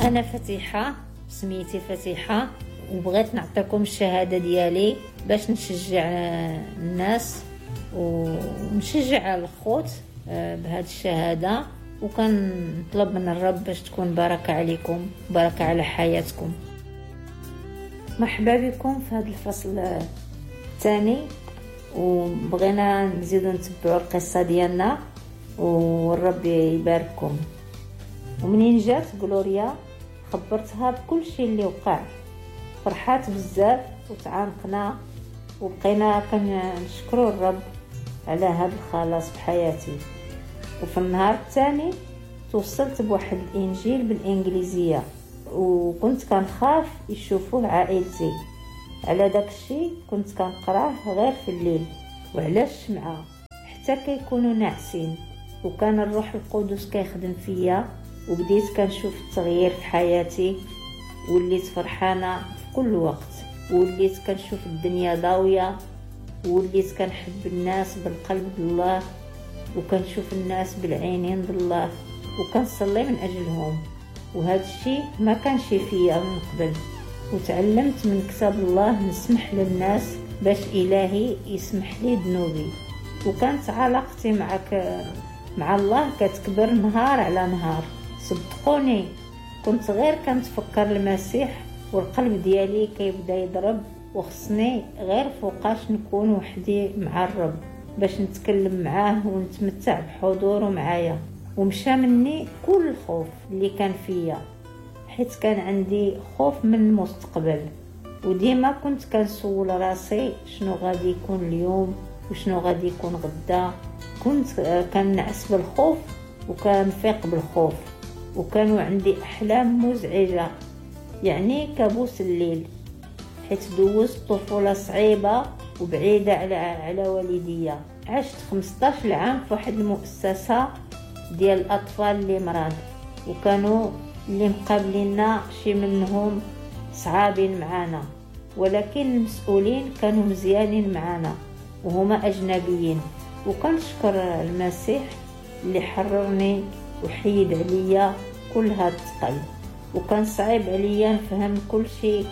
انا فتيحه، سميتي فتيحه، وبغيت نعطيكم الشهادة ديالي باش نشجع الناس ونشجع الخوت بهذه الشهاده، وكنطلب من الرب باش تكون بركة عليكم، بركة على حياتكم. مرحبا بكم في هذا الفصل الثاني، وبغينا نزيدو نتبعوا القصة ديالنا والرب يبارككم. ومنين جات غلوريا خبرتها بكل شيء اللي وقع، فرحات بزاف وتعانقنا وبقينا كنشكروا الرب على هذا الخلاص في حياتي. وفي النهار الثاني توصلت بواحد الانجيل بالانجليزية، وكنت كنخاف يشوفوه عائلتي، على داك الشيء كنت كنقراه غير في الليل وعلى الشمعة حتى كيكونوا ناعسين. وكان الروح القدس كيخدم فيا، وبديت كنشوف التغيير في حياتي، وليت فرحانة في كل وقت، وليت كنشوف الدنيا ضاويه، وليت كنحب الناس بالقلب بالله، وكنشوف الناس بالعينين بالله، وكنصلي من اجلهم. وهذا الشيء ما كانش فيا من قبل. وتعلمت من كتاب الله نسمح للناس باش إلهي يسمح لي ذنوبي. وكانت علاقتي مع الله كتكبر نهار على نهار. صدقوني كنت غير كنتفكر المسيح والقلب ديالي كيبدا يضرب، وخصني غير فوقاش نكون وحدي مع الرب باش نتكلم معاه ونتمتع بحضوره معايا. ومشى مني كل الخوف اللي كان فيا، حيت كان عندي خوف من المستقبل، وديما كنت كنسول راسي شنو غادي يكون اليوم وشنو غادي يكون غدا. كنت كنعس بالخوف وكنفيق بالخوف، وكانوا عندي احلام مزعجة، يعني كابوس الليل، حيت دوزت طفولة صعيبة وبعيدة على والديا. عشت 15 عام في واحد المؤسسة ديال الاطفال اللي مرض، وكانوا اللي مقابلينا شي منهم صعابين معانا، ولكن المسؤولين كانوا مزيانين معانا وهما اجنبيين. وكنشكر المسيح اللي حررني وحيد عليا كل هاد الثقل. وكان صعيب عليا نفهم كل شيء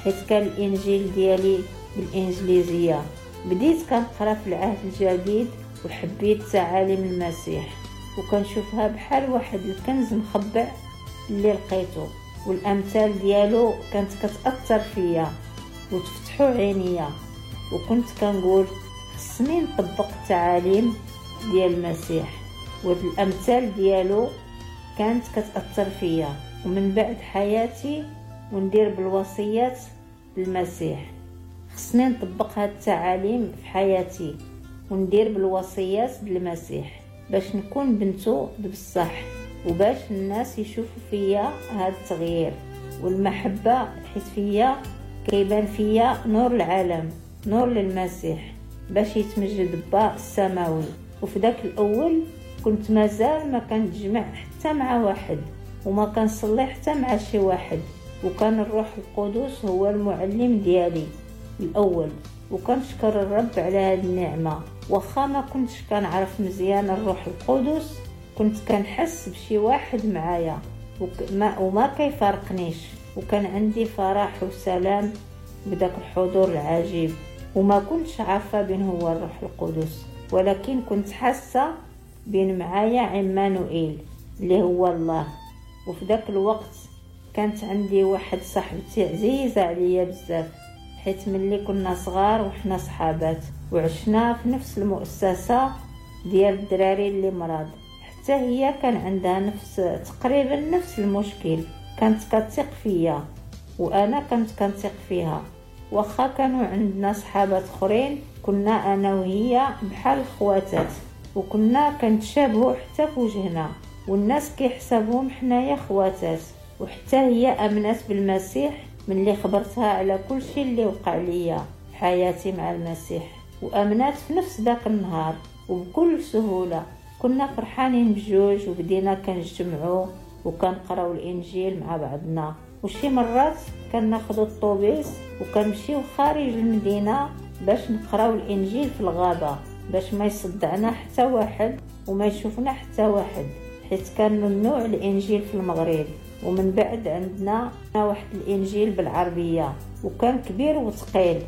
حيت كان الانجيل ديالي بالانجليزية. بديت كنقرا في العهد الجديد وحبيت تعاليم المسيح، وكنشوفها بحال واحد الكنز مخبع اللي لقيته، والامثال ديالو كانت كتاثر فيا وتفتحوا عينيا. وكنت كنقول خصني نطبق التعاليم ديال المسيح، والامثال ديالو كانت كتاثر فيا. ومن بعد حياتي وندير بالوصيات المسيح، خصني نطبق هاد التعاليم في حياتي وندير بالوصيات المسيح باش نكون بنتو بصح، وباش الناس يشوفوا فيا هاد التغيير والمحبة، حيت فيا كيبان فيا نور العالم، نور للمسيح باش يتمجد با السماوي. وفي داك الأول كنت مازال ما كنتجمع حتى مع واحد، وما كنصلي حتى مع شي واحد، وكان الروح القدس هو المعلم ديالي الأول. وكنشكر الرب على هاد النعمة. واخا ما كنتش كنعرف مزيان الروح القدس، كنت كنحس بشي واحد معايا وما كيفارقنيش، وكان عندي فرح وسلام بداك الحضور العجيب. وما كنتش عارفة بين هو الروح القدس، ولكن كنت حاسة بين معايا عمانوئيل اللي هو الله. وفي داك الوقت كانت عندي واحد صاحبتي عزيزة عليا بزاف، حيت ملي كنا صغار وحنا صحابات، وعشنا في نفس المؤسسة ديال الدراري اللي مرض. حتى هي كان عندها تقريبا نفس المشكل، كانت كتثق فيا وانا كنت كنثق فيها. واخا كانوا عندنا صحابات اخرين، كنا انا وهي بحال خواتات، وكنا كنتشابهوا حتى في وجهنا، والناس كيحسبوهم حنايا خواتات. وحتى هي امنت بالمسيح ملي خبرتها على كل شيء اللي وقع ليا في حياتي مع المسيح، وامنات في نفس ذاك النهار وبكل سهولة. كنا فرحانين بجوج، وبدينا كنجتمعوا وكنقراو الانجيل مع بعضنا. وشي مرات كناخذوا الطوبيس وكنمشيو خارج المدينة باش نقراو الانجيل في الغابة، باش ما يصدعنا حتى واحد وما يشوفنا حتى واحد، حيت كان ممنوع الانجيل في المغرب. ومن بعد عندنا واحد الانجيل بالعربيه وكان كبير وثقيل.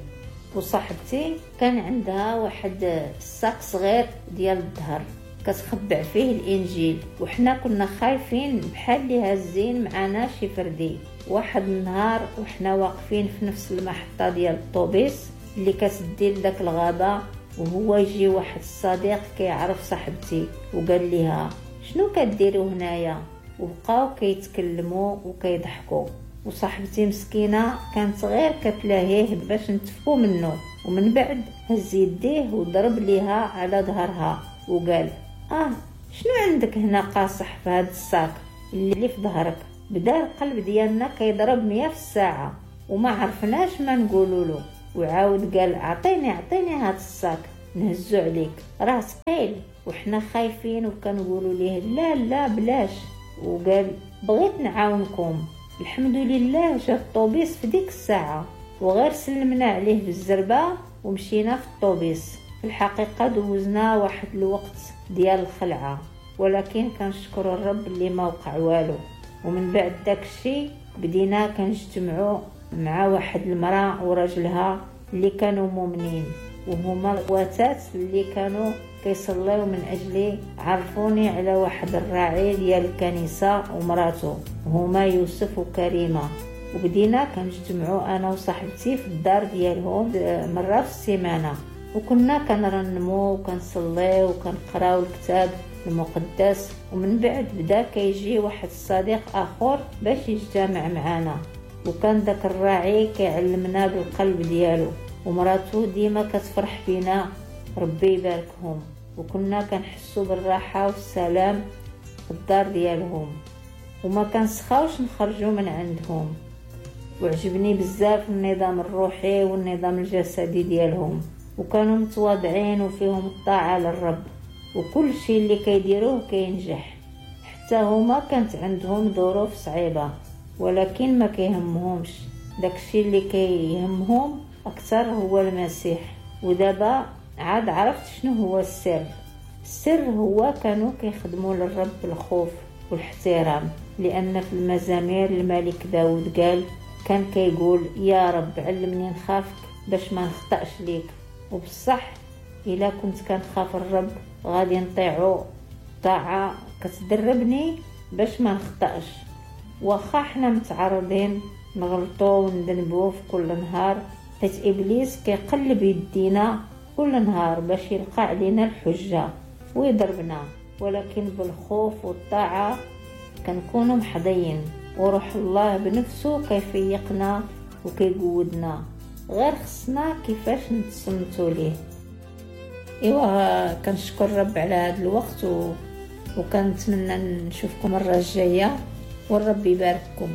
وصاحبتي كان عندها واحد ال sac صغير ديال الظهر كتخبع فيه الانجيل، وحنا كنا خايفين بحال اللي هازين معانا شي فردي. واحد النهار وحنا واقفين في نفس المحطه ديال الطوبيس اللي كتدي لداك الغابه، وهو يجي واحد الصديق كيعرف صاحبتي وقال لها شنو كديروا هنايا، وبقاو كيتكلموا وكيضحكوا. وصاحبتي مسكينه كانت غير كتلاهيه باش نتفكوا منه. ومن بعد هز يديه وضرب ليها على ظهرها وقال شنو عندك هنا قاصح في هاد ال sac اللي في ظهرك؟ بدا القلب ديالنا كيضرب 100 في الساعه وما عرفناش ما نقولوا له. وعاود قال اعطيني هاد ال sac نهزو عليك راه ثقيل. وحنا خايفين وكنقولوا ليه لا لا بلاش. وقال بغيت نعاونكم. الحمد لله جا الطوبيس في ديك الساعه وغير سلمنا عليه بالزربه ومشينا في الطوبيس. في الحقيقه دوزنا واحد الوقت ديال الخلعه، ولكن كنشكر الرب اللي ما وقع والو. ومن بعد داكشي بدينا كنجتمعوا مع واحد المراه وراجلها اللي كانوا مؤمنين، وهما الواتات اللي كانوا كيصليو من اجلي. عرفوني على واحد الراعي ديال الكنيسه ومراته، هما يوسف وكريمه. وبدينا كنجتمعوا انا وصاحبتي في الدار ديالهم مره في السيمانه، وكنا كنرنمو وكنصليو وكنقراو الكتاب المقدس. ومن بعد بدا كيجي واحد الصديق اخر باش يجتمع معنا، وكان داك الراعي كيعلمنا بالقلب ديالو، ومراته ديما كتفرح بينا، ربي يباركهم. وكنا كنحسوا بالراحه والسلام في الدار ديالهم، وما كنسخاوش نخرجوا من عندهم. وعجبني بزاف النظام الروحي والنظام الجسدي ديالهم، وكانوا متواضعين وفيهم الطاعه للرب، وكل شيء اللي كيديروه كينجح. حتى هما كانت عندهم ظروف صعيبه، ولكن ما كيهمهمش داكشي اللي كيهمهم اكثر هو المسيح. ودابا عاد عرفت شنو هو السر. السر هو كانوا كيخدموا للرب بالخوف والاحترام، لان في المزامير الملك داود قال، كان كيقول يا رب علمني نخافك باش ما نخطأش ليك. وبصح الا كنت كنخاف الرب غادي نطيعو طاعه كتدربني باش ما نخطأش. واخا حنا متعرضين نغلطو وندنبو في كل نهار، حيت ابليس كيقلب يدينا كل نهار باش يلقى علينا الحجه ويضربنا، ولكن بالخوف والطاعه كنكونوا محضيين، وروح الله بنفسه كيفيقنا وكيقودنا. غير خصنا كيفاش نتصنتوا ليه. ايوا كنشكر الرب على هذا الوقت وكنتمنى نشوفكم المره الجايه، والرب يبارككم.